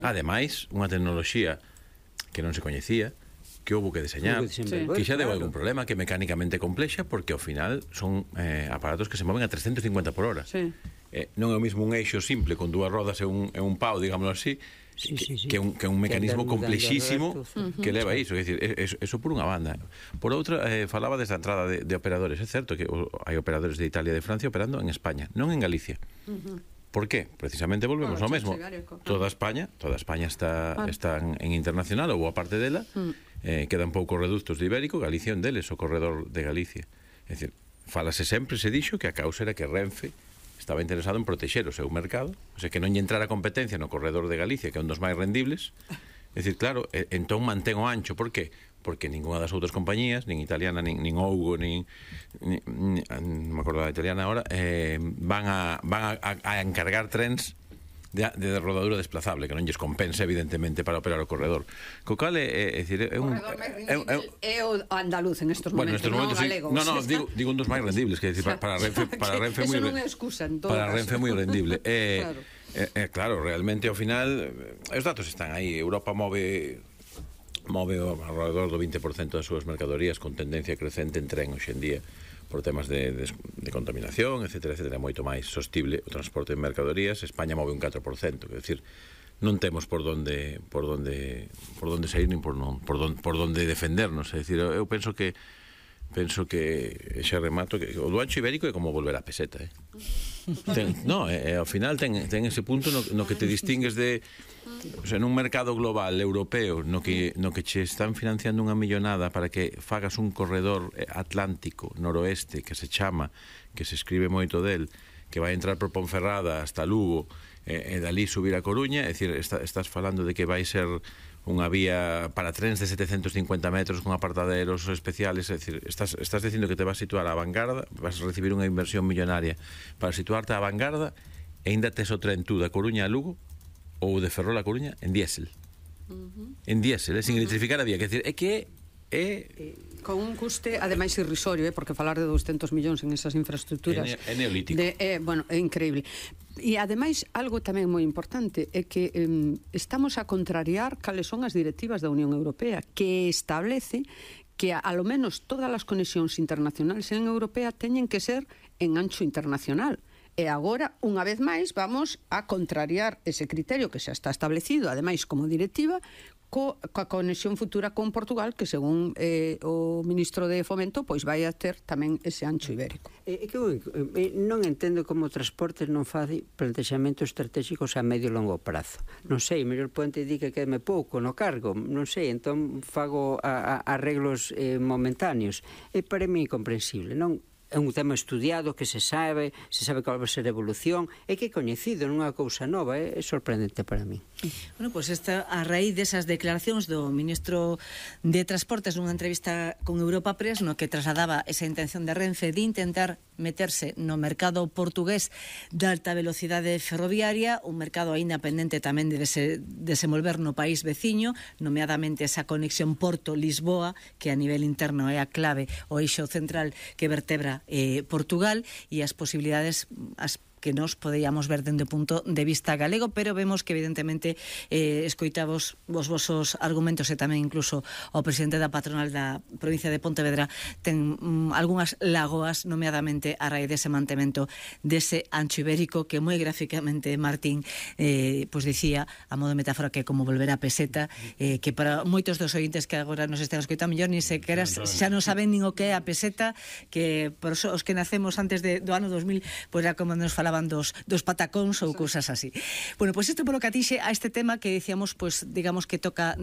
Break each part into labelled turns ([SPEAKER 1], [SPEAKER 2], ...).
[SPEAKER 1] Ademais, unha tecnoloxía que non se coñecía, que houve que deseñar, que xa deu algún problema, que é mecánicamente complexa, porque ao final son aparatos que se moven a 350 por hora. Non é o mismo un eixo simple con dúas rodas e un pau, digámoslo así, que un mecanismo complexísimo que leva iso. É dicir, eso por unha banda. Por outra, falaba desta entrada de operadores. É certo que hai operadores de Italia e de Francia operando en España, non en Galicia. Por qué? Precisamente volvemos ao mesmo. Toda España está en internacional, ou a parte dela, quedan poucos reductos de Ibérico, Galicia é un deles, o corredor de Galicia. É dicir, falase sempre, se dixo, que a causa era que Renfe estaba interesado en protexer o seu mercado, o sea, que non lle entrara competencia no corredor de Galicia, que é un dos máis rendibles. É dicir, claro, entón mantén o ancho. Por qué? Porque ninguna das outras compañías, nin italiana, nin Ougo, non me acordo da italiana agora, van a encargar trens de rodadura desplazable, que non lles compensa evidentemente para operar o corredor. Co cal é un
[SPEAKER 2] corredor máis rendible é o andaluz en estos momentos, non o galego.
[SPEAKER 1] Non, digo un dos máis rendibles, que para Renfe
[SPEAKER 2] eso non é excusa en todo caso.
[SPEAKER 1] Para Renfe moi rendible. Claro, realmente ao final os datos están aí. Europa move alrededor do 20% das súas mercadorías con tendencia crecente en tren hoxe en día, por temas de contaminación, etcétera, moito máis sostible o transporte de mercadorías. España move un 4%, é dicir, non temos por donde sair nin por donde defendernos. É dicir, eu penso que xa remato que o do ancho ibérico é como volver á peseta, ao final ten ese punto no que te distingues de, o sea, nun mercado global europeo no que che están financiando unha millonada para que fagas un corredor atlántico noroeste que se chama, que se escribe moito del, que vai entrar por Ponferrada hasta Lugo e dali subir a Coruña. É dicir, estás falando de que vai ser unha vía para trens de 750 metros con apartaderos especiales. É dicir, estás dicindo que te vas a situar á vanguarda, vas a recibir unha inversión millonaria para situarte á vanguarda e ainda tes o tren tú da Coruña a Lugo ou de Ferrol a Coruña en diésel. En diésel, sin electrificar a vía. É que
[SPEAKER 2] con un custe ademais irrisorio, porque falar de 200 millóns en esas infraestructuras
[SPEAKER 1] é neolítico.
[SPEAKER 2] Bueno, é increíble. E ademais, algo tamén moi importante é que estamos a contrariar cales son as directivas da Unión Europea, que establece que a lo menos todas as conexións internacionales en Europea teñen que ser en ancho internacional. E agora, unha vez máis, vamos a contrariar ese criterio que xa está establecido, ademais como directiva, coa conexión futura con Portugal, que según o ministro de Fomento pois vai a ter tamén ese ancho ibérico.
[SPEAKER 3] Non entendo como transportes non fai plantexamentos estratégicos a medio e longo prazo. Non sei, mellor poente di que quedeme pouco no cargo, non sei, entón fago arreglos momentáneos. É para mí incomprensible, non? É un tema estudiado que se sabe cal vai ser a evolución, é que é coñecido, non é unha cousa nova, é sorprendente para mí.
[SPEAKER 4] Bueno, pois esta a raíz desas declaracións do ministro de Transportes nunha entrevista con Europa Press, no que trasladaba esa intención de Renfe de intentar meterse no mercado portugués de alta velocidade ferroviaria, un mercado aínda pendente tamén de desenvolver no país veciño, nomeadamente esa conexión Porto-Lisboa, que a nivel interno é a clave, o eixo central que vertebra Portugal, e as posibilidades que nos podíamos ver dende o punto de vista galego, pero vemos que evidentemente escoitamos os vosos argumentos e tamén incluso o presidente da patronal da provincia de Pontevedra ten algunhas lagoas, nomeadamente a raíz dese mantemento dese ancho ibérico que moi gráficamente Martín pois dicía, a modo de metáfora, que é como volver a peseta, que para moitos dos ointes que agora nos están escoitando mellor ni sequera xa non saben nin o que é a peseta, que por os que nacemos antes do ano 2000 pois era como nos falaban dos patacóns ou cousas así. Bueno, pois isto polo que atixe a este tema que dicíamos, pois digamos que toca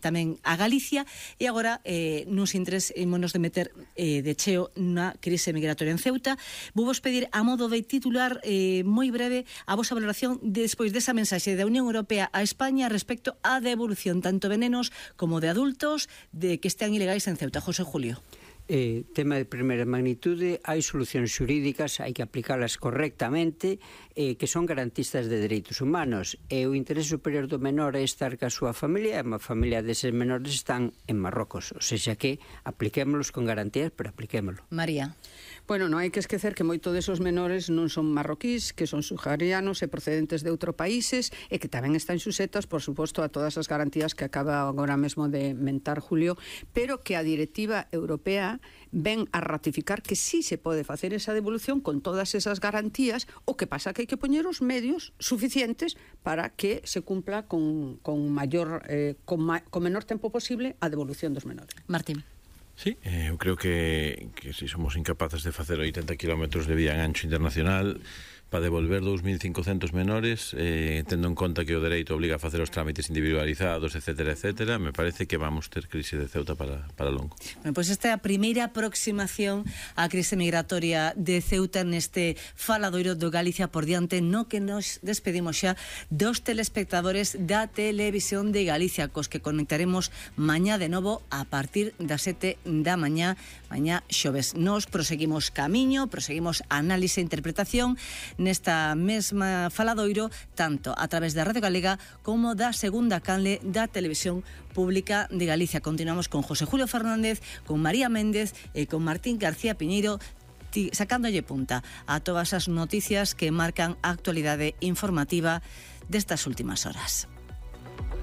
[SPEAKER 4] tamén a Galicia, e agora nos interés ímonos de meter de cheo na crise migratoria en Ceuta. Vou vos pedir a modo de titular moi breve a vosa valoración despois desa mensaxe da Unión Europea a España respecto á devolución tanto de nenos como de adultos de que están ilegais en Ceuta. José Julio.
[SPEAKER 3] Tema de primeira magnitude, hai solucións xurídicas, hai que aplicalas correctamente, que son garantistas de dereitos humanos, e o interés superior do menor é estar ca súa familia, e a familia deses menores están en Marrocos, ou seja que apliquémolos con garantías, pero apliquémolo.
[SPEAKER 4] María.
[SPEAKER 2] Bueno, non hai que esquecer que moito desos menores non son marroquís, que son subsaharianos e procedentes de outros países e que tamén están suxetas, por suposto, a todas as garantías que acaba agora mesmo de mentar Julio, pero que a directiva europea ven a ratificar que sí se pode facer esa devolución con todas esas garantías. O que pasa que hai que poñer os medios suficientes para que se cumpla con menor tempo posible a devolución dos menores.
[SPEAKER 4] Martín.
[SPEAKER 1] Sí, eu creo que se somos incapaces de facer 80 kilómetros de vía en ancho internacional para devolver 2.500 menores, tendo en conta que o dereito obliga a facer os trámites individualizados, etcétera, etcétera, me parece que vamos ter crise de Ceuta para longo.
[SPEAKER 4] Bueno, pois esta é a primeira aproximación á crise migratoria de Ceuta neste faladoiro do Galicia por diante, no que nos despedimos xa dos telespectadores da Televisión de Galicia, cos que conectaremos mañá de novo a partir das 7 da mañá xoves. Nos proseguimos camiño, proseguimos análise e interpretación nesta mesma faladoiro, tanto a través da Radio Galega como da segunda canle da Televisión Pública de Galicia. Continuamos con José Julio Fernández, con María Méndez e con Martín García Piñeiro, sacándolle punta a todas as noticias que marcan a actualidade informativa destas últimas horas.